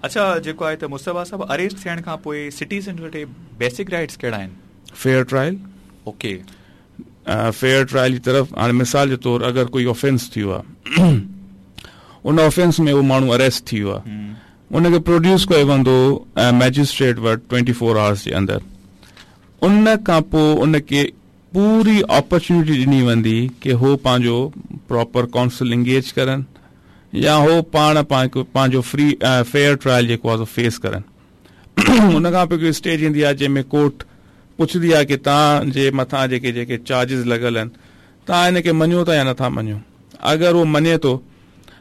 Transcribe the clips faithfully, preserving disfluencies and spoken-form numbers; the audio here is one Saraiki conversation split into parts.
اچھا، جيڪو آهي ته مصطفيٰ صاحب، اريسٽ ٿيڻ کان پوءِ سٽيزن وٽ بيسڪ رائيٽس ڪهڙا آهن؟ Fair trial. Okay. Fair trial جي طرف هاڻي مثال جي طور اگر ڪوئي آفينس ٿيو آهي، ان آفينس ۾ اهو ماڻهو اريسٽ ٿيو آهي، ان کي پروڊيوس ڪيو ويندو ميجسٽريٽ وٽ ٽوئنٽي فور آورس جي اندر. ان کان پوءِ ان کي پوري اپرچونيٽي ڏني ويندي کہ هو پنهنجو پراپر ڪائونسل انگيج ڪرن يا هو پاڻ پنهنجو فري فيئر ٽرائل جيڪو آهي سو فيس ڪرن. ان کان پوءِ هڪڙي اسٽيج ايندي آهي جنهن ۾ ڪورٽ پڇندي آهي کہ توهان جي مٿان جيڪي جيڪي چارجز لڳل آهن، توهان ان کي مڃو ٿا يا نٿا مڃو. اگر اهو مڃي ٿو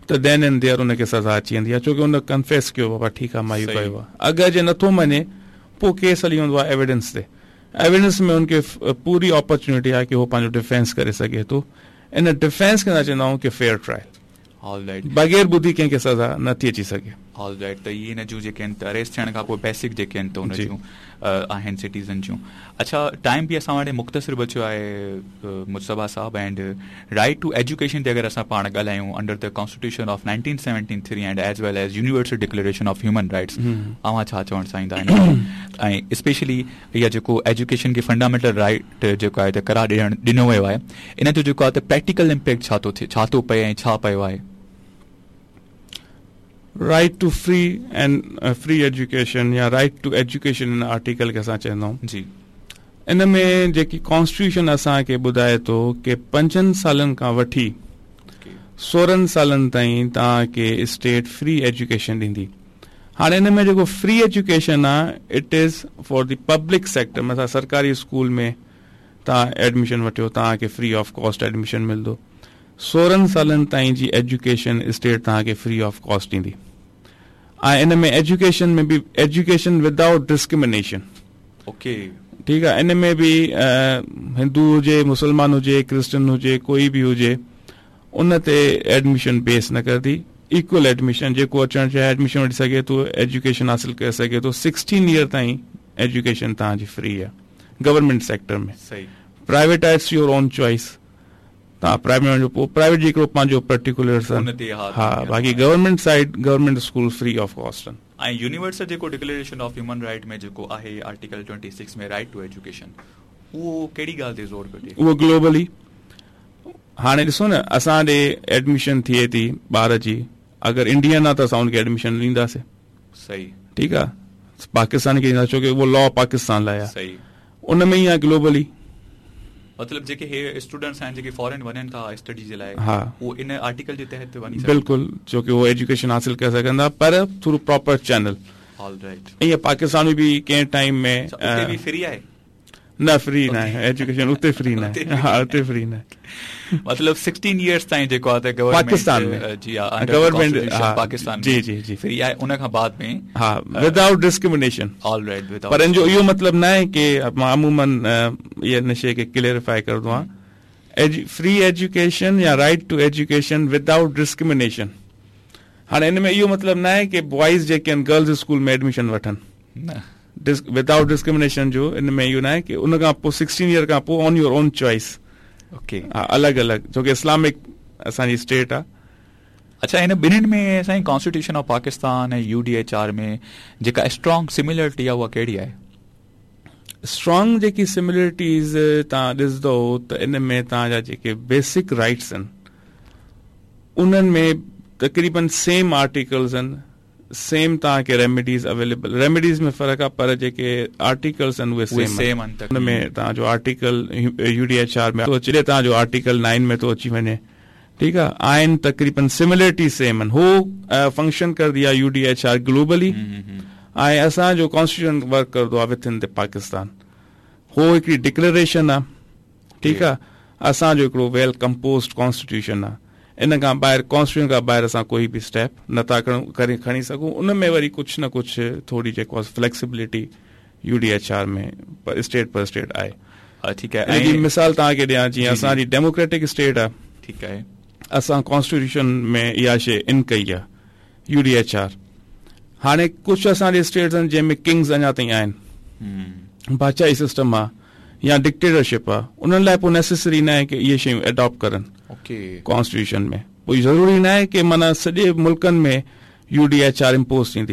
ته دين اينڊ ديئر ان کي سزا اچي ويندي آهي، ڇو ڪي ان ڪنفيس ڪيو، بابا ٺيڪ آهي، مان اهو ڪيو آهي. اگر جي نٿو مڃي، پوءِ ڪيس هلي ويندو آهي ايويڊنس تي. ايويڊنس ۾ ان کي پوري اپرچونيٽي آهي ڪي هو پنهنجو ڊفينس ڪري سگهي ٿو. ان ڊفينس کي نه چوندا آهيون ڪي فيئر ٽرائل. بغیر ٻڌي ڪنهن کي سزا نٿي اچي سگهي. ته اهي هن جون جيڪي آهن ته اريسٽ ٿيڻ کان پوءِ بيسڪ جيڪي آهن ته ان جون آهن سٽيزن جون. اڇا، ٽائم به اسان وٽ مختصر بچيو آهي مصطفيٰ صاحب، اينڊ رائيٽ ٽو ايجوڪيشن تي اگر اسان پاڻ ڳالهايون انڊر ته constitution of nineteen seventy three and as well as universal declaration of human rights, اوهان ڇا چوڻ چاهيندا آهن؟ ۽ اسپيشلي اها جيڪو ايجوڪيشن کي فنڊامينٽل رائيٽ جيڪو آهي ته قرار ڏيڻ ڏنو ويو آهي، ان جو جيڪو آهي ته پريڪٽيڪل امپيڪٽ ڇا ٿو ٿئي، ڇا ٿو پئي ۽ ڇا پيو آهي؟ Right to free and free education يا رائيٽ ٽو ايجوڪيشن ان آرٽيڪل کي اسان چوندؤن. جي. ان ۾ جيڪي ڪانسٽيٽيوشن اسان کي ٻڌائي ٿو ڪي پنجن سالن کان وٺي سورن سالن تائين توهان کي اسٽيٽ فري ايجوڪيشن ڏيندي. هاڻي ان ۾ جيڪو فري ايجوڪيشن آهي، اٽ is for the public sector, مثلا سرڪاري اسڪول ۾ توهان ايڊميشن وٺيو، توهان کي فري آف ڪاسٽ ايڊميشن ملندو. سورن سالن تائين جي ايجوڪيشن اسٽيٽ توهان کي فري آف ڪاسٽ ڏيندي. ۽ ان ۾ ايجوڪيشن ۾ به ايجوڪيشن ودائوٽ ڊسڪرمنيشن. اوڪي. ٺيڪ آهي، ان ۾ به هندو هجي، مسلمان هجي، ڪرسچن هجي، ڪوئي به هجي، ان تي ايڊميشن بيس نه ڪندي. ايڪول ايڊميشن، جيڪو اچڻ چاهي ايڊميشن وٺي سگهي ٿو، ايجوڪيشن حاصل ڪري سگهي ٿو. سڪسٽين ايئر تائين ايجوڪيشن توهان جي فري آهي گورنمنٽ سيڪٽر ۾. پرائيويٽ آئي، اٽس يور اون چوائس. توهان پرائيويٽ وڃو، پوءِ پرائيويٽ جي هڪڙو پنهنجو پرٽيڪولر سن. ها، باقي government side, government school free of cost آهن. ۽ يونيورسل جيڪو ڊڪليريشن آف هيومن رائيٽ ۾ جيڪو آهي article twenty six ۾ right to education, اهو ڪهڙي ڳالهه تي زور پيو ڏي؟ اهو گلوبلي. هاڻي ڏسو نه، اسان ڏي ايڊميشن ٿئي ٿي ٻار جي، اگر انڊين آهي ته اسان ان کي ايڊميشن ڏينداسين. صحيح. ٺيڪ آهي، پاڪستان کي ڏيندا، ڇو ڪي اهو لا پاڪستان لاءِ آهي. صحيح. ان ۾ ئي آهي گلوبلي. مطلب جيڪي هي اسٽوڊنٽس آهن جيڪي فارن وڃن ٿا اسٽڊي جي لاءِ، ها. اهو ان آرٽيڪل جي تحت ته وڃي سگهن ٿا. بلڪل، ڇو ڪي اهو ايجوڪيشن حاصل ڪري سگهن ٿا، پر through proper channel. All right. ائين پاڪستان ۾ به ڪنهن ٽائيم ۾ اچا، اتي به فري آهي؟ نه، فري نه آهي ايجوڪيشن، اتي فري نه آهي. ها، اتي فري نه آهي. مطلب سڪسٽين ايئرس تائين جيڪو آهي ته گورنمنٽ پاڪستان ۾. جي ها، انڊر گورنمنٽ، ڪانسٽيٽيوشن ها، پاڪستان جي، ۾ جي، جي. فري آهي، ان کان بعد ۾ ها، ها. Without discrimination. All right, without. پر ان جو اهو مطلب نه آهي ڪي مان عموماً، ا، اهي نشي کي ڪليئرفائي ڪرندو آهيان. ايجو-، فري ايجوڪيشن يا right to education without discrimination. هاڻي ان ۾ اهو مطلب نه آهي ڪي بوائز جيڪي آهن گرلز اسڪول ۾ ايڊميشن وٺن. نه. ڊس-، ودائوٽ ڊسڪرمنيشن جو ان ۾ اهو نه آهي ڪي ان کان پوءِ سڪسٽين ايئر کان پوءِ on your own choice. Okay. ها، الڳ الڳ، ڇو ڪي اسلامڪ اسان جي اسٽيٽ آهي. اڇا، هن ٻنهي ۾ سائين constitution of Pakistan ۽ U D H R ۾ جيڪا اسٽرانگ سميلرٽي آهي، اها ڪهڙي آهي؟ اسٽرانگ جيڪي سميلرٽيز توهان ڏسندؤ ته ان ۾ توهان جا جيڪي بيسڪ رائيٽس آهن، انهن ۾ تقريبن سيم آرٽيڪلز آهن، سيم توهان کي ريميڊيز اويليبل، ريميڊيز ۾ فرق آهي، پر جيڪي آرٽيڪلز آهن، اهي اهي سيم سيم آهن. آهن تقريبن. ان ۾ توهان جو article U D H R ۾ ٿو اچي، توهان جو آرٽيڪل نائن ۾ ٿو اچي وڃي. ٺيڪ آهي، آهن تقريبن سميلرٽي سيم آهن. هو، ا، فنڪشن ڪردي آهي U D H R globally. ۽ اسان جو ڪانسٽيٽيوشن ورڪ ڪردو آهي وٿن دي پاڪستان. هو هڪڙي ڊڪليريشن آهي. ٺيڪ آهي، اسان جو هڪڙو ويل ڪمپوزڊ ڪانسٽيٽيوشن آهي. ان کان ٻاهر، ڪانسٽيٽيوشن کان ٻاهر اسان ڪوئي به اسٽيپ نٿا کڻون، ڪري، کڻي سگهون. ان ۾ وري ڪجهه نه ڪجهه ٿوري جيڪو آهي flexibility U D H R ۾ پر اسٽيٽ پر اسٽيٽ آهي. ها، ٺيڪ آهي. ان جي ۽ مثال توهان کي ڏيان، جيئن جي، جي. اسان جي ڊيموڪريٽڪ اسٽيٽ آهي. ٺيڪ آهي. اسان ڪانسٽيٽيوشن ۾ اها شيءِ ان ڪئي آهي، يو ڊي ايڇ آر. هاڻي ڪجهه اسان جي اسٽيٽس آهن، جنهن ۾ ڪنگز اڃا تائين آهن. بادشاهي سسٽم آهي يا ڊڪٽيٽرشپ آهي، انهن لاءِ پوءِ نيسيسري نه آهي ڪي اهي شيون اڊاپٽ ڪرن ڪانسٽيٽيوشن ۾. پوءِ ضروري نه آهي ڪي معنيٰ سڄي ملڪن ۾ U D H R impose ٿيندي.